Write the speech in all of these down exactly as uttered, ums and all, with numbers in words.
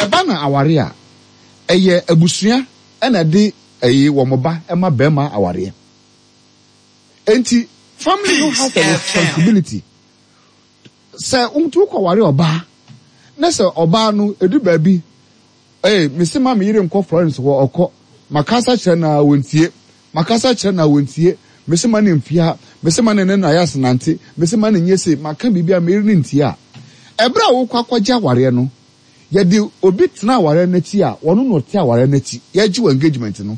Ɛba na aware a, ɛyɛ abusua ɛna de ɛyi wɔn ba ɛma bɛrima awareɛ. Enti family no has a responsibility sɛ ntu kɔ ware ɔbaa na sɛ ɔbaa no edu baabi, ee, mesi ma mi yere nkɔ Florence hɔ, ɔkɔ. Makasa kyerɛ na wɔntie, makasa kyerɛ na wɔntie. Mesi ma ne mfia, mesi ma ne ne na yɛ asenante, mesi ma ne nye se maka biribi a mi yere ne ntie a, ɛberɛ a wokɔ akɔgye awareɛ no, yɛde obi tena awareɛ n'akyi a wɔn na ɔte awareɛ n'akyi. Yɛgye wɔ engagement no,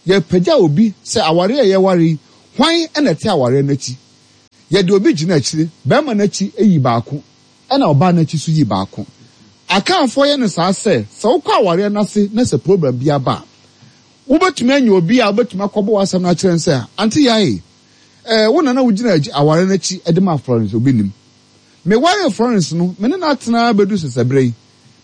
yɛpagya obi sɛ awareɛ a yɛware yi, hwan ɛna ɛte awareɛ n'akyi? Yɛde obi gyina akyire, bɛrima n'akyi eyi baako, ɛna ɔbaa n'akyi so yi baako. Akanfoɔ yɛ no saa sɛ sɛ wokɔ awareɛ n'ase na sɛ problem bi aba a, wobɛtumi anya obi a wobɛtumi akɔbɔ w'asɛm no akyerɛ no sɛ, "Ante yae, ɛɛ, wo nana wogyina awareɛ n'akyi ɛde ma Florence. Obi nim meware Florence no, me ne no atena bɛdu sesɛ berɛ yi,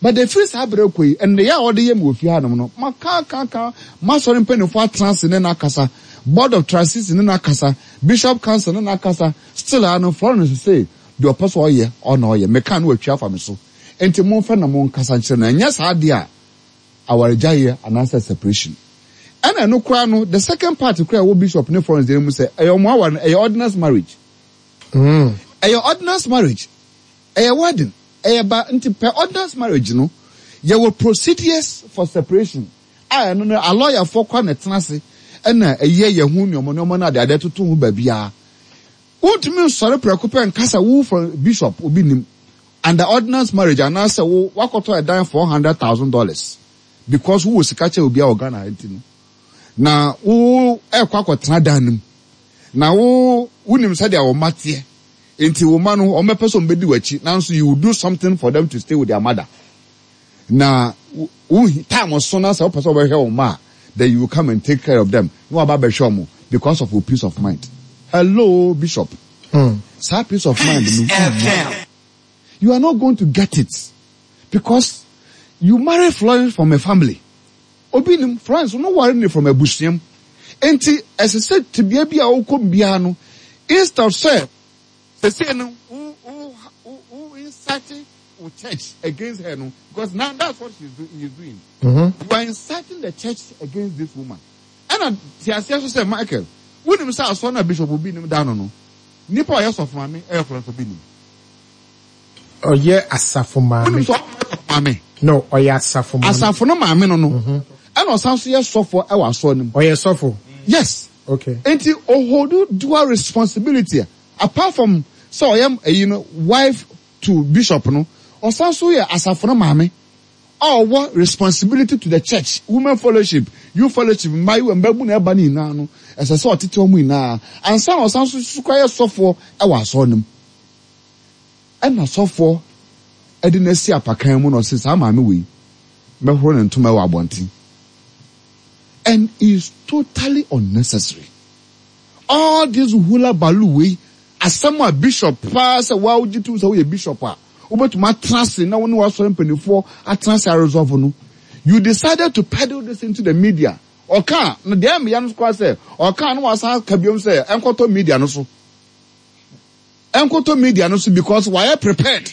but efiri saa berɛ kɔ yi, nneyɛ a ɔde yɛ me wɔ fie hanom no, maka ka ka masɔre mpanimfoɔ atena ase ne n'akasa, board of trustees ne n'akasa, bishop council ne n'akasa, still ano Florence sɛ deɛ ɔpɛ sɛ ɔyɛ ɔna ɔyɛ. Meka no watwi afa me so. Nti momfɛ na monkasa nkyerɛ no. Ɛnyɛ saa deɛ a, awaregyaeɛ anaasɛ separation. Ɛna ɛno koraa no, the second part koraa ɛwɔ bishop ne Florence deɛ mu sɛ ɛyɛ ɔmo aware no, ɛyɛ ordinance marriage. Mm. Ɛyɛ ordinance marriage, ɛyɛ wedding, ɛyɛ ba. Nti pɛ ordinance marriage no, yɛwɔ procedures for separation a ɛno no alɔyafoɔ kɔ na ɛtena ase ɛna ɛyɛ yɛn ho nneɛma nneɛma no ade ade toto ho baabiara. Wontumi nsɔre prɛko pɛ nkasa wo for bishop obi nim under ordinance marriage anaasɛ wo wakɔtɔ ɛdan four hundred thousand dollars because wowɔ sika kyɛ obi a wɔ Ghana nti no, na wo ɛkɔ akɔtena dan no mu na wo wonim sɛdeɛ wɔn mma teɛ. Nti wɔn mma no, wɔn bɛpɛ sɛ wɔn bɛdi w'akyi, nanso you will do something for them to stay with their mother. Na wo time so na sɛ wopɛ sɛ wɔbɛhwɛ wɔn mma a, then you will come and take care of them na waba abɛhwɛ wɔn because of your peace of mind. Hello, bishop. Hmm. Saa peace of mind no, you are not going to get it because you marry Florence from a family. Obi nim Florence no ware ne from abusuam. Nti ɛsɛ sɛ tebea bi a wokɔ biara no, instead sɛ sɛsɛ no wo wo wo wo inciting wo church against her no, because now that's what she's do, he's doing. Mm-hmm. You are inciting the church against this woman. Ɛna te aseɛ so sɛ Michael, wonim sɛ asɔ na bishop obi nim da no no nipa a ɔyɛ sɔfo maame ɛyɛ Florence Obi nim. Ɔyɛ asafo maame. Wonim sɛ ɔyɛ maame? No, ɔyɛ asafo maame. Asafo no maame no no ɛna ɔsan so yɛ sɔfo ɛwɔ asɔ no mu. Ɔyɛ sɔfo? Yes. Okay. Nti ohold dual responsibility. Apart from sɛ ɔyɛ ɛyi no, wife to bishop no, ɔsan so yɛ asafo no maame a ɔwɔ responsibility to the church, women fellowship, youth fellowship, mmaayewa, mbabu na ɛba ne nyinaa no, ɛsɛ sɛ ɔtete wɔn nyinaa ansa na ɔsan so so kora yɛ sɔfoɔ ɛwɔ asɔre no mu. Ɛna sɔfoɔ ɛde n'asi apakan mu na ɔsɛ saa maame wei mɛhoro ne ntoma ɛwɔ abɔnten, and is totally unnecessary, all this hula balu wei. Asɛm a bishop paa sɛ waa wogye tum sɛ woyɛ bishop a wobɛtumi atena ase na wo ne wasɔre mpanimfoɔ atena ase aresolve no, you decided to peddle this into the media. Ɔka na deɛ ɛmmeya no koraa sɛ ɔka na wasan ka biom sɛ ɛnkɔtɔ media no so, ɛnkɔtɔ media no so, because wayɛ prepared.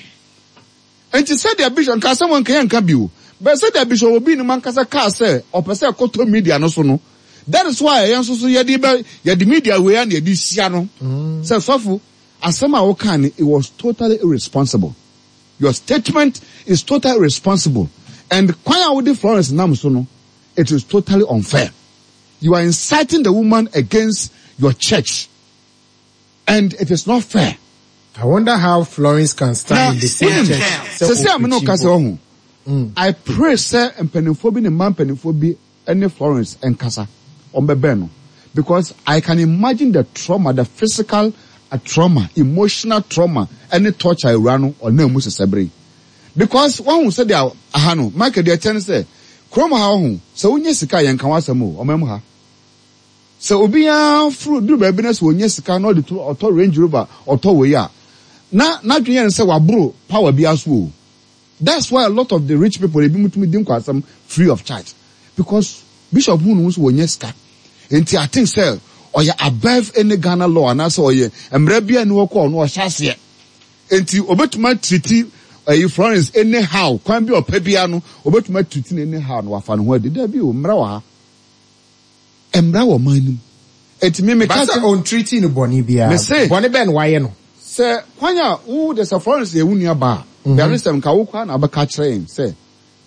Nti sɛdeɛ bishop nka asɛm nka yɛ nka bio bɛ sɛdeɛ bishop obi nim ankasa kaa sɛ ɔpɛ sɛ ɛkɔtɔ media no so no, that is why ɛyɛ nso so yɛde bɛ yɛde media wei a na yɛde hyia no sɛ, sɔfo, asɛm a woka no, it was totally irresponsible. Your statement is totally irresponsible, and kwan a wode Florence nam so no, it is totally unfair. You are inciting the woman against your church and it is not fair. I wonder how Florence can stand in the same church. Sɛ sɛ amene ɔka sɛ ɔho, I pray sɛ mpanimfoɔ bi ne mmaa mpanimfoɔ bi ne Florence nkasa, ɔmbɛbɛn no, because I can imagine the trauma, the physical uh, trauma, emotional trauma ɛne torture ewura no ɔnam mu sesɛ bere, because wɔn ho sɛdeɛ aha no, Michael, deɛ kyɛn sɛ kurom ha ɔho sɛ wonye sika yɛn ka wasɛm o. Ɔman mu ha sɛ obiara furu duru baabi na sɛ onye sika na ɔde to ɔtɔ Range Rover, ɔtɔ wei a, na n'adwene yɛn sɛ waboro power bi aso o. That's why a lot of the rich people ebi mu tumi di nkwasɛm free of charge, because bishop hu no nso wɔnyɛ sika nti I think sɛ ɔyɛ above any Ghana law anaasɛ ɔyɛ mmerɛ bi a ni hɔ kɔ ɔno ɔhyɛ aseɛ nti obetumi atreat ɛyi Florence anyhow, kwan bi ɔpɛ bia no obetumi atuti no anyhow na wafa ne ho adi. Dabi o, mmara wɔ ha, mmara wɔ ɔman nim. Eti mi mi ka Basa ɔntreat no bɔne biara. Mese- Bɔne bɛn na wayɛ no? Sɛ kwan a wo de sɛ Florence yɛ wo nua baa, there is sɛm nka wo kwan na abɛka kyerɛ yɛn sɛ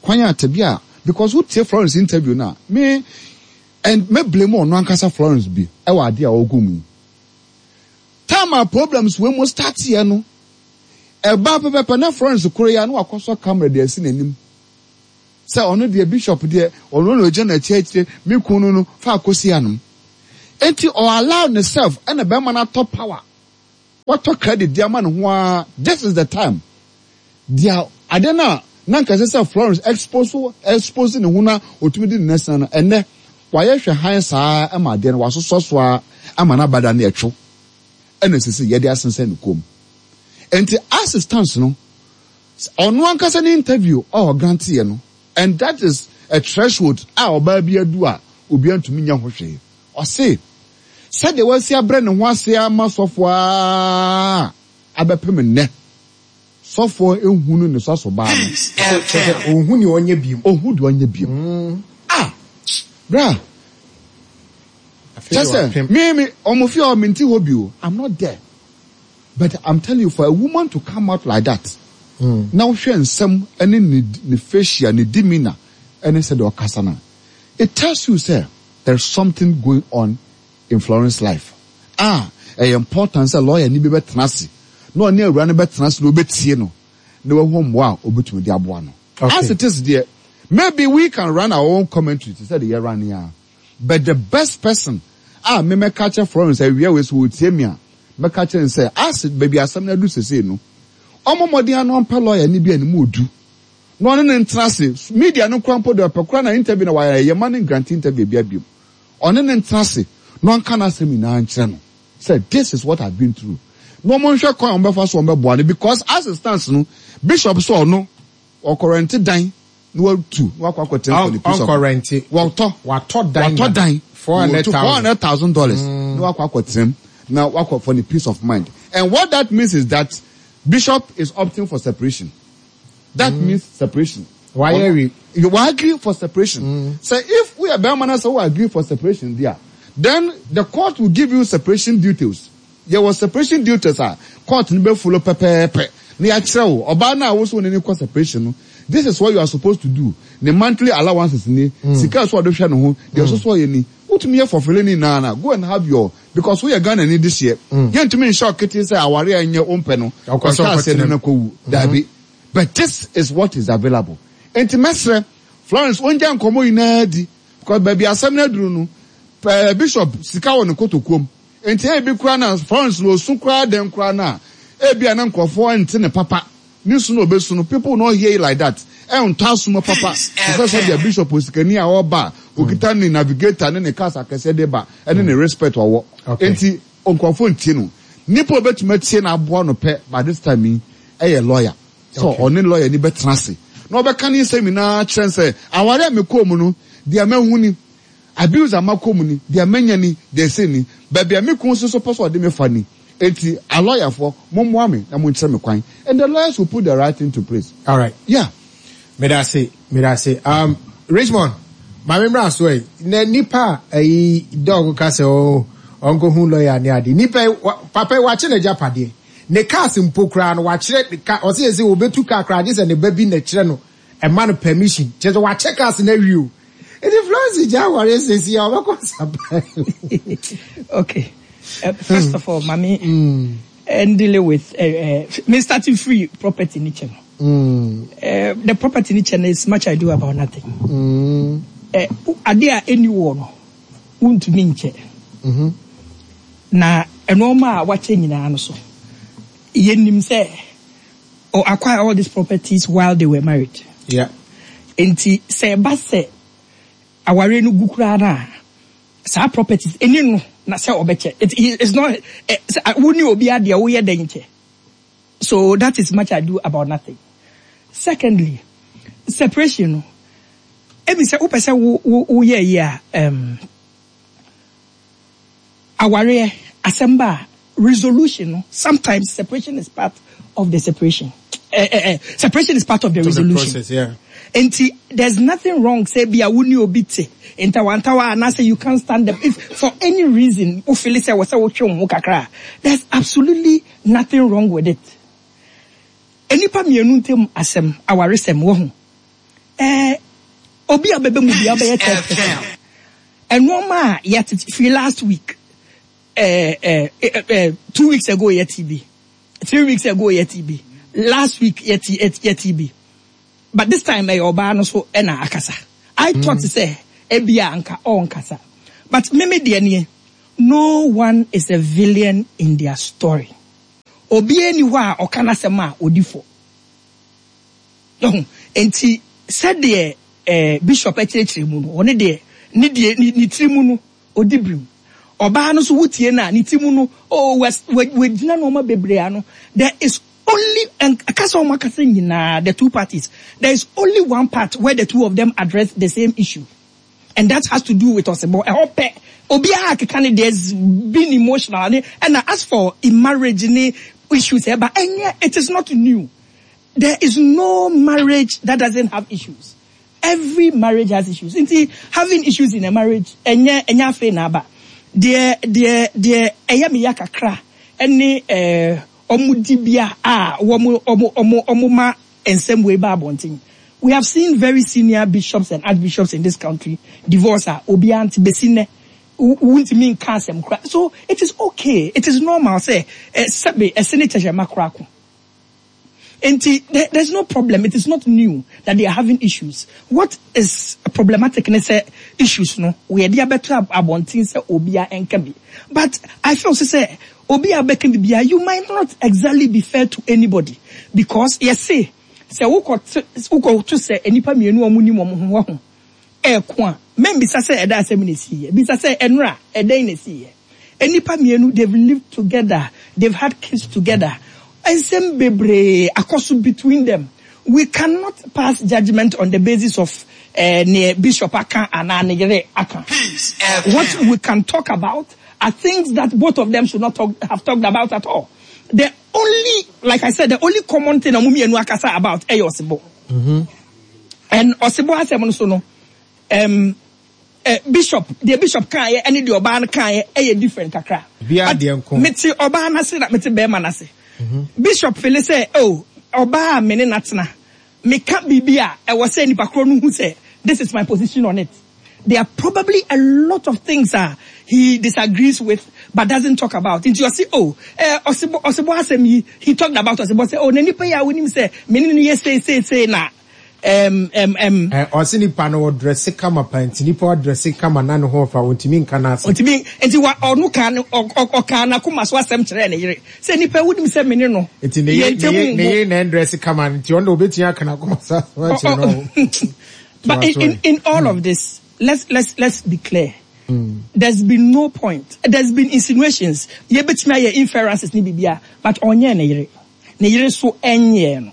kwan a tabi a, because wotie Florence interview na me and me blame ɔno ankasa Florence bi ɛwɔ ade a ɔgu mu yi. Time a problems wei mo start yɛ no, ɛba pɛpɛpɛ na Florence koro yi a na wakɔsɔ camera de asi n'anim sɛ ɔno deɛ, Bishop deɛ, ɔno na ogyina n'akyi akyire, me kun no no fa akɔsi anom. Eti ɔ allow ne self ɛna bɛrima no atɔ power, watɔ credit di ama ne ho ara. This is the time deɛ ade no a na nka ɛsɛ sɛ Florence expose expose ne ho na otumi di ne nɛsɛn no, ɛnɛ wayɛ hwɛ han saa ama adeɛ no wasosɔ so a ama n'abada no ɛtwo ɛna sisi yɛde asensɛn ne kɔn mu. Nti as it stands no, ɔno ankasa ne interview a ɔgrant yɛ no, and that is a threshold a ɔbaa bi adu a obiara ntumi nya ho hwee. Ɔse sɛdeɛ wasi abrɛ ne ho ase ama sɔfoɔ a abɛpem nnɛ, sɔfoɔ ehunu ne sɔso baa no. Kyerɛ sɛ ɔnhu nea ɔnyɛ bio. Ohu deɛ ɔnyɛ bio. Ah, bra. Afei kyɛ deɛ sɛ wapem. me me ɔmo fi hɔ, mente hɔ bio, I'm not there, but I'm telling you, for a woman to come out like that na wohwɛ nsɛm ɛne ne ne facial, ne demeanour ɛne sɛdeɛ ɔkasa no, it tells you sɛ there's something going on in Florence life a ɛyɛ important sɛ lawyer ni bi bɛtena ase na ɔne awura no bɛtena ase na ɔbɛtie no na wahu mmoa a obɛtumi de aboa no. Okay. As it is there, maybe we can run our own commentary to say the yɛ run here, but the best person a me mɛka kyerɛ Florence awia wei so wɔtie mi a, mɛka kyerɛ no sɛ as baabi asɛm no adu sesei no, ɔmo mmɔden ano ɔmpɛ lawyer ni bi a ne mu odu na ɔne ne ntena ase. Media no kora mpo deɛ, ɔpɛ kora na interview na wayɛ yɛ ma ne grant interview bi abiom. Ɔne ne ntena ase na ɔnka n'asɛm nyinaa nkyerɛ no sɛ this is what I've been through, na ɔmo nhwɛ kwan a ɔmo bɛfa so ɔmo bɛboa no, because as it stands no, Bishop sɛ ɔno ɔkɔ dan na watu na wakɔ akɔtena for the peace of Ɔnkɔ rent. Wɔtɔ. Watɔ dan. Watɔ dan. Four hundred four thousand. hundred thousand dollars na wakɔ akɔtena mu na wakɔ for the peace of mind. And what that means is that Bishop is opting for separation. That means separation. Wayɛ wi. You will agree for separation. So if we are bɛrima na sɛ we agree for separation there, then the court will give you separation details. There was separation details a court no bɛ follow pɛpɛɛpɛ na yɛakyerɛ wo ɔbaa no a woso ne ne kɔ separation no, this is what you are supposed to do. Ne monthly allowances ni, sika so ɔde hwɛ ne ho deɛ ɔso so ɔyɛ ni, wotumi yɛ fɔfele ne nyinaa na go and have your, because woyɛ Ghana ni this year, yɛntumi nhyɛ ɔkete sɛ aware a ɛnyɛ wompɛ no Ɔkɔ sɛ ɔhyɛ aseɛ no ɔkɔtena na kɔwu. Dabi, but this is what is available. Nti mɛsrɛ Florence ongya nkɔmɔ nyinaa di, because baabi asɛm no aduru no pɛɛ, Bishop sika wɔ ne kotokuom. Nti ebi kura na Florence na osu kura den kura na ebi a na nkurɔfoɔ nte ne papa ne su na obesu no, people no hear you like that. Ɛntɔ asoma papa te sɛ sɛdeɛ Bishop osikani a ɔba a okita ne navigator ne ne cars akɛseɛ de ba ɛne ne respect ɔwɔ. Okay. Nti nkurɔfoɔ ntie no. Nipa a obetumi atie na aboa no pɛ by this time yi ɛyɛ lawyer so Okay. ɔne lawyer ni bɛtena ase na ɔbɛka ne nsɛm nyinaa kyerɛ sɛ aware a mekɔɔ mu no deɛ mahu ni, abuse a makɔ mu ni, deɛ manya ni, deɛ ɛsɛ ni, baabi a me kun nso so pɛ sɛ ɔde me fa ni. Eti alɔyafoɔ, mommoa me na monkyerɛ me kwan, and the lawyers will put the right thing to place. All right. Yeah. Medase, medase. Um, Richmond, maame mmra so yi na nipa a ɛyi dɔg ka sɛ ɔ ɔnkɔhu lawyer ne ade. Nipa yi wa- papa yi wakye n'agyapadeɛ, ne cars mpo koraa no wakyerɛ ne ka. Ɔsi yɛ sɛ obetu car koraa gye sɛ ne ba bi na kyerɛ no, ɛma no permission. Kyerɛ sɛ wakyɛ cars na awie o. Eti Florence gya aware sisi a ɔbɛkɔ saba. Okay. Uh, first of all, mami, mm. dealing with uh, uh, me starting free property ni channel. Mm. Uh, the property ni channel is much ado about nothing. Mm. Uh, ade a ɛni wɔ no, wontumi nkyɛ. Mm-hmm. Na ɛnɔɔma a wakyɛ nyinaa no so, yɛnim sɛ or acquire all these properties while they were married. Yeah. Nti sɛ ɛba sɛ awareɛ no gu koraa no a, saa properties ɛni no na sɛ ɔbɛkyɛ. It, it's not eh, sɛ, wo ne obi adeɛ woyɛ dɛn nkyɛ. So that is much ado about nothing. Secondly, separation no, ebi sɛ wopɛ sɛ wo wo woyɛ yi a, um, awareɛ asɛm ba a, resolution no, sometimes separation is part of the separation. uh, uh, separation is part of the Of the resolution. process, yeah. Nti there's nothing wrong sɛ bia wo ne obi te ntawantawa anaasɛ you can't stand them if for any reason wo feel sɛ wɔ sɛ wotwe wo ho kakra a, there's absolutely nothing wrong with it. Nnipa mmienu ntam asɛm, awaresɛm wɔ ho. Eh, obi a bɛbɛ mu bia wobɛyɛ third person. Ɛnoɔma a yɛtete firi last week, eh, eh, eh, eh, two weeks ago yɛte bi, three weeks ago yɛte bi, last week yɛte, yɛte bi. But this time ɛyɛ ɔbaa no so ɛna akasa. I thought sɛ ebia anka ɔnkasa. But meme deɛ nie, no one is a villain in their story. Obiara ni hɔ a ɔka n'asɛm a odi fɔ. Ɛho nti sɛdeɛ eh, bishop akyerɛkyerɛ mu no, ɔne deɛ ne deɛ ne, ne tiri mu no odi birim. Ɔbaa no nso wotie no a ne ti mu no, oh, wagyina nneɛma bebree ano. There is only and kasa wɔn akasa nyinaa, the two parties, there is only one part where the two of them address the same issue, and that has to do with ɔsebɔ. Ɛhɔ pɛ obiara keka ne there's been emotional ne ɛna as for in marriage ne issues ɛba ɛnyɛ, it is not new. There is no marriage that doesn't have issues. Every marriage has issues. Nti having issues in a marriage ɛnyɛ ɛnyɛ afei na aba. Deɛ deɛ deɛ ɛyɛ mi ya kakra ɛne ɛɛ ɔmo di bia a wɔn ɔmo ɔmo ɔmo ma nsɛm wei ba abɔnten. We have seen very senior bishops and archbishops in this country divorce a obiara nti besi nnɛ wuntumi nka asɛm kora. So it is okay. It is normal sɛ ɛ sɛbe ɛsɛ ne kyɛkyɛma kora ko. Nti there, there's no problem. It is not new that they are having issues. What is problematic ne sɛ issues no wɔyɛde abɛto abɔnten sɛ obiara nka bi. But I feel sɛ sɛ obi a bɛka biribiara, you might not exactly be fair to anybody because yɛse sɛ wokɔ wokɔto sɛ nnipa mmienu a wɔn nim wɔn ho wɔ ho ɛɛko a, membisa sɛ ɛda asɛm na esi yɛ, bisa sɛ ɛnora ɛdɛn na esi yɛ. Nnipa mmienu, they've lived together, they've had kids together. Nsɛm bebree akɔ so between them. We cannot pass judgment on the basis of uh, ne bishop aka anaa ne yere aka. What we can talk about are things that both of them should not talk, have talked about at all. The only, like I said, the only common thing ɔmo mmienu akasa about ɛyɛ ɔsebɔ. And ɔsebɔ asɛm no so no, um, uh, bishop, deɛ bishop kaeɛ ɛne deɛ ɔbaa no kaeɛ ɛyɛ different kakra. Obiara But deɛ nko. mete ɔbaa n'ase na mete bɛrima n'ase. Bishop feel sɛ, oh, ɔbaa a me ne n'atena, meka biribi a ɛwɔ sɛ nipa korɔ no hu sɛ this is my position on it. There are probably a lot of things that he disagrees with but doesn't talk about. Nti ɔsi, oh, eh, ɔsebɔ ɔsebɔ asɛm yi, he talked about ɔsebɔ sɛ, oh, na nipa yi a wonim sɛ me ne no yɛ sei sei sei na um, um, um, Eh, ɔse nipa no ɔdress kama pa nti nipa ɔdress kama na ne ho ɔfa ontumi nka n'ase. Ɔntumi nti wa ɔno kan no ɔ- ɔ- ɔka n'akoma so asɛm kyerɛ ne yere sɛ nipa wonim sɛ me ne no Nti ne yɛn yere ntam ne yere ne ngo. yere na ɛndress kama nti ɔno na obetumi aka n'akoma so asɛm akyerɛ no. But in, in, in all of this, let's let's let's be clear. There's been no point. There's been insinuations. Yɛbɛtumi ayɛ inferences ne bibia, but ɔnyɛ ne yere. Ne yere so ɛnyɛ no.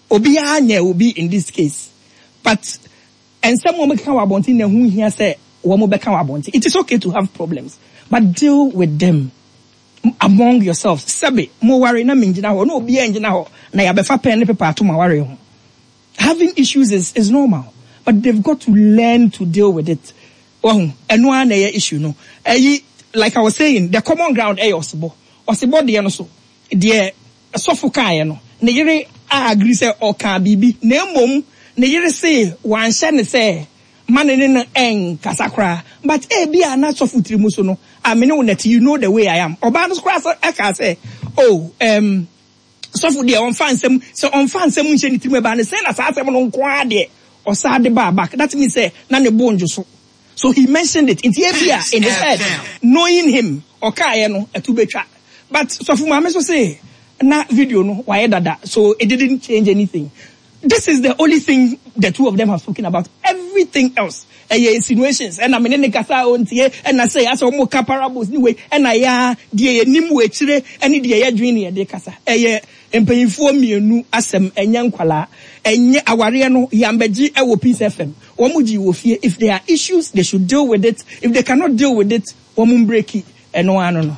Obiara nyɛ obi in this case. But nsɛm a wɔbɛka wɔ abɔnten na ɛho hia sɛ wɔn bɛka wɔ abɔnten. It is okay to have problems, but deal with them among yourselves. Sɛbe, mo ware na mengyina hɔ, na obiara ngyina hɔ, na yɛabɛfa pen ne paper ato mo aware ho. Having issues is, is normal, but they've got to learn to deal with it. Wahu, ɛno ara na ɛyɛ issue no. Ɛyi, like I was saying, the common ground ɛyɛ ɔsebɔ. Ɔsebɔ deɛ no so, deɛ sɔfo kaeɛ no, ne yere a agree sɛ ɔka biribi, na mmom ne yere se wanhyɛ ne sɛ ma ne ne no ɛnkasa koraa. But ebi a na sɔfo tiri mu so no, a me ne wo nɛte, you know the way I am. Ɔbaa no so koraa sɛ ɛka sɛ, oh, um, sɔfo deɛ ɔmfa nsɛm sɛ ɔmfa nsɛm nhyɛ ne tirim ɛbaa ne sɛ na saa asɛm no nko ara deɛ ɔsaa de baa back. That means sɛ na ne bo ndwo so. So he mentioned it. Nti ebi a in his head, knowing him, ɔkaeɛ no ɛto betwa. But sɔfo maame so say na video no wayɛ dada, so it didn't change anything. This is the only thing the two of them have spoken about. Everything else, ɛyɛ insinuations. Ɛna me ne ne kasa a ɔntie, ɛna sɛ asɛ ɔmo ka parables ne wei, ɛna ya deɛ yɛnim wɔ akyire, ɛne deɛ yɛdwene ne yɛde kasa. Ɛyɛ mpanyinfoɔ mmienu asɛm, ɛnyɛ nkwalaa. Ɛnyɛ awareɛ no, yambɛgye ɛwɔ Peace F M. Wɔn gye wɔ fie. If there are issues, they should deal with it. If they cannot deal with it, wɔn break ɛno ano no.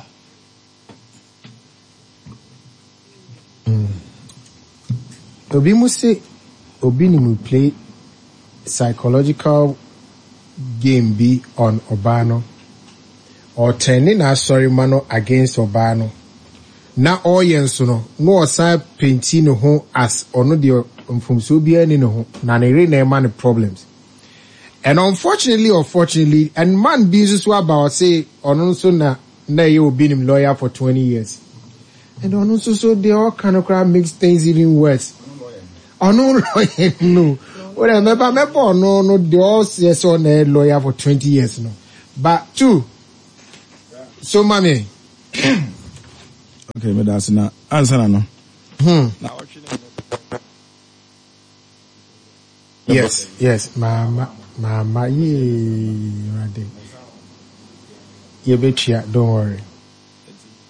Obi mu se obi nim play psychological game bi on ɔbaa no. Ɔtɛne n'asɔre ma no against ɔbaa no. Na ɔreyɛ nso no, na ɔsan paint ne ho as ɔno deɛ mfomsoɔ biara ni ne ho na ne yere na ɛma no problems. And unfortunately or fortunately, and man bi nso so aba, ɔse ɔno nso na na ɛyɛ obi nim lawyer for twenty years. And ɔno nso so deɛ ɔka no koraa makes things even worse. Ɔno lawyer no. Wọ́n mɛba mɛbɔ ɔno no deɛ ɔsɛ sɛ ɔna yɛ lawyer for twenty years no. But two, so mami. Okay, meda ase na ansa na no. Hmm. Na ɔtwe ne Yes, yes, mama, mama, yee, rade. Yɛbɛtua, don't worry.